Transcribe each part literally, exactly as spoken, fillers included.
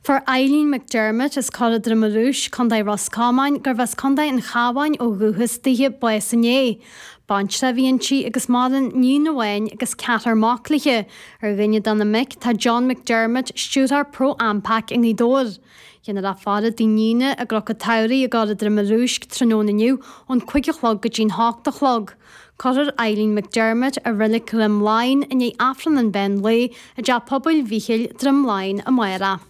Fuair Eileen McDermott as Cora Droim Rúis, Contae Ros Comáin, gurbh as Contae an Chabháin ó dhúchas dithe bás inné. Baintreach a bhí inti agus maireann iníon amháin agus ceathrar mac léi. Ar dhuine de na mic tá John McDermott, stiúrthóir Pro Ampac i nGaoth Dobhair. Déanfar í a fhaire i dtigh Nína i gCnoc an tSamhraidh i gCora Droim Rúisc tráthnóna inniu ón cúig a chlog go dtí'n hocht a chlog. Cuirfear Eileen McDermott i Reilig Dhroim Laighean i ndiaidh Aifreann an mheán lae i dTeach Pobail Mhichíl Droim Laighean amárach.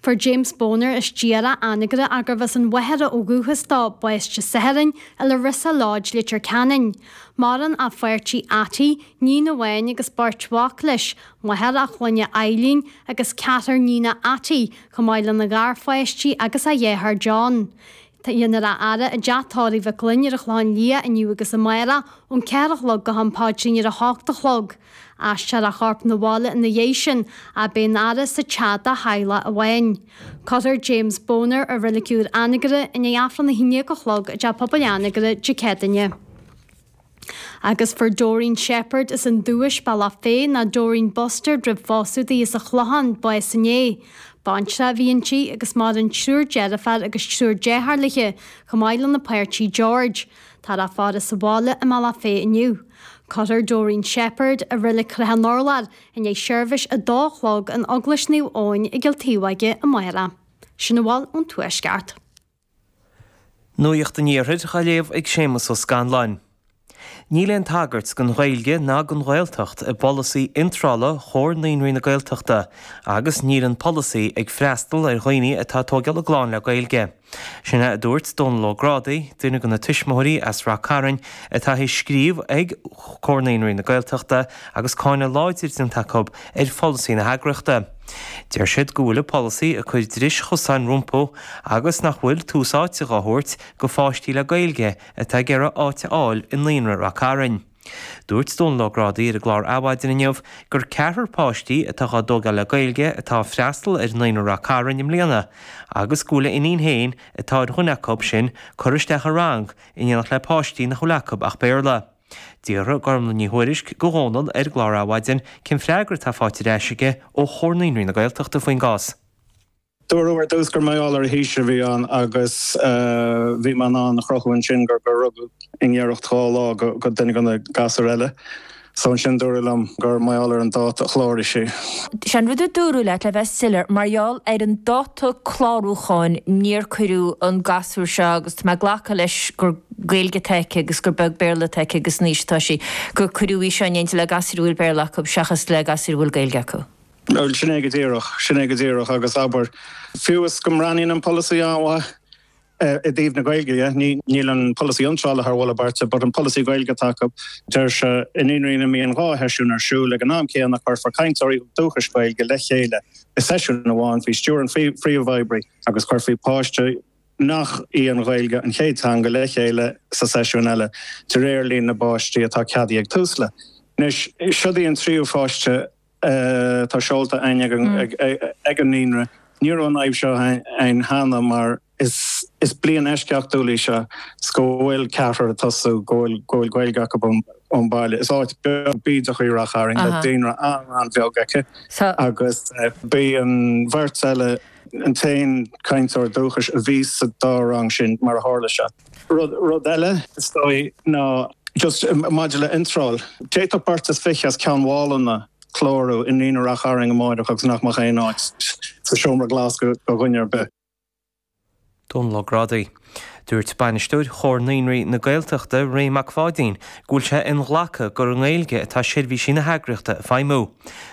Fuair James Boner as Diara Anagaire gurbh as an Mhachaire ó dhúchas dó bás Dé Sathairn i Larissa Lodge Leitir Ceanainn. Maireann a pháirtí Atty, iníon amháin agus beirt mhac leis, máthair a chlainne Eileen agus ceathrar níonacha Atty, chomh maith lena gharpháistí agus a dheartháir John. Déanfar í a fhaire i dteach tórraimh Mhic Gloinn ar an Chlochán Liath inniu agus amárach ón ceathair a chlog go ham paidrín ar a hocht a chlog. Aistreofar a chorp 'na bhaile ina dhiaidh sin ach beidh an fhaire sa teach dá theaghlach amháin. Cuirfear James Boner i Reilig Úr Anagaire i ndiaidh Aifreann a haon déag a chlog i dTeach Pobail Anagaire Dé Céadaoine. Agus fuair Doreen Shepherd as an Dúis Bealach Féich ná Doreen Buster roimh phósadh di as an Chlochán bás inné. Baintreach a bhí inti agus maireann triúr deirfiúr agus triúr dearthár léi, chomh maith lena páirtí George. Tá á faire sa bhaile i mBealach Féich inniu. Cuirfear Doreen Shepherd i Reilig Chnoc an Urláir i ndiaidh seirbhís a dó a chlog in Eaglais Naomh Eoin i gCill Taobh amárach. Sin a bhfuil ón Tuaisceart. Nuacht an Iarthair á léamh ag Séamus Ó Scanláin. Níl aon tagairt don Ghaeilge ná don Ghaeltacht i bpolasaí iontrála Chomhar Naíonraí na Gaeltachta, agus níl an polasaí ag freastal ar dhaoine atá ag tógáil a gclann le Gaeilge. Sin é a dúirt Dónal Ó Grádaigh, duine de na tuismitheoirí as Ráth Cairn atá ag scríobh ag Comhar Naíonraí na Gaeltachta agus cáineadh láidir déanta acu ar pholasaí na heagraíochta. Deir siad go bhfuil an polasaí ag cur dris chosáin rompu agus nach bhfuil tús áite á thabhairt do pháistí le Gaeilge atá ag iarraidh áit a fháil i Naíonra Ráth Cairn. Dúirt Dónal Ó Grádaigh ar an gclár Adhmhaidin inniu gur ceathrar páistí atá á dtógáil le Gaeilge atá freastal ar Naíonra Ráth Cairn i mbliana, agus go bhfuil a iníon féin atá ar dhuine acu sin curtha isteach i rang in éineacht le páistí nach bhfuil acu ach Béarla. D'fhiafraigh Gormlaith Ní Thuairisg de Dhónal ar an gclár Adhmhaidin cén freagra atá faighte ar ais aige ó Chomhar Naíonraí na Gaeltachta faoin gcás. Dúradh ar dtús gur mar gheall ar a haois a bhí ann agus bhí mé in ann a chruthú ansin gur gur rugadh i ngiorracht dhá lá go duine de na gasúir eile. So ansin dúradh liom gur mar gheall ar an dáta a chláraigh sí. Sin rud a dúradh leat le bheith soiléir mar gheall ar an dáta clárúcháin níor cuireadh an gasúr seo agus tá mé ag glacadh leis gur Gaeilge atá aici agus gur beag Béarla atá aici agus an aois atá sí, gur cuireadh í seo in éindí le gasúir a bhfuil Béarla acu seachas le gasúir a bhfuil Gaeilge acu. Bhuel, sin é go díreach, sin é go díreach agus abair, fiú is go mbreathnaíonn an polasaí an-mhaith i dtaobh na Gaeilge dhe, níl an polasaí iontrála thar mholadh beirte, but an polasaí Gaeilge atá acu, deir sé i naíonraí ina mbíonn dhá sheisiún ar siúl ag an am céanna cuirfear cainteoirí dúchais Gaeilge le chéile i seisiún amháin faoi stiúir an phríomhoibrí agus cuirfí páiste nach í an Ghaeilge an chéad teanga le chéile sa seisiún eile de réir líon na bpáistí atá ceadaithe ag Tusla. Anois, siod í an tríú pháiste atá seolta ag ag an naíonra. Ní raibh an fhadhb seo ann cheana mar is is bliain eisceachtúil í seo 's go bhfuil ceathrar ag tosú go bhfuil go bhfuil Gaeilge acu ón baile. Is áit beag bídeach í Ráth Chairn le daonra an-an-bheag aici agus b'í an bheirt eile an t-aon cainteoir dúchais a bhí sa dá rang sin mar a tharla sé. Rud rud eile is dóigh ná just maidir le iontráil. D'fhéadfadh beirt is fiche as Ceann Mhálanna clárú i Naíonra Ráth Chairn amárach agus nach mbeadh aon áit sa seomra glas go dhuine ar bith. Dónal Ó Grádaigh. Dúirt bainisteoir Chomhar Naíonraí na Gaeltachta Ray Mac Pháidín go bhfuil sé inghlactha gur i nGaeilge atá seirbhísí na heagraíochta ag feidhmiú.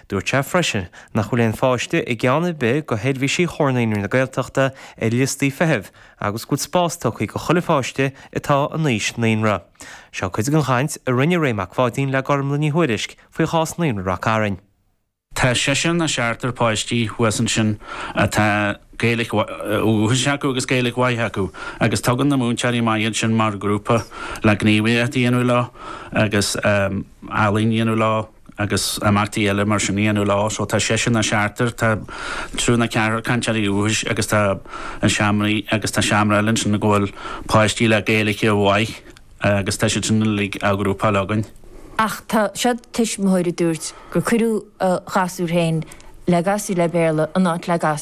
Dúirt sé freisin nach bhfuil aon pháiste i gceann ar bith de sheirbhísí Chomhar Naíonraí na Gaeltachta ar liostaí feithimh agus go bhfuil spás tugtha do chuile pháiste atá in aois naíonra. Seo cuid den chaint a rinne Ray Mac Pháidín le Gormlaith Ní Thuairisg faoi chás Naíonra Ráth Cairn. Tá seisear nó seachtar páistí thuas ansin atá Gaeilge dúchais acu agus Gaeilge mhaith acu, agus tugann na múinteoirí maith iad sin mar ghrúpa le gníomhaíocht a dhéanamh leo agus ealaín a dhéanamh leo agus imeachtaí eile mar sin a dhéanamh leo. So tá seisear nó seachtar, tá triúr nó ceathrar cainteoirí dúchais agus tá an seomraí agus tá seomra eile ansin go bhfuil páistí le Gaeilge mhaith agus tá siad sin uilig á ghrúpáil againn. Ach tá siad tuismitheoir a dúirt gur cuireadh a ghasúr féin le gasúir le Béarla in áit le gasúir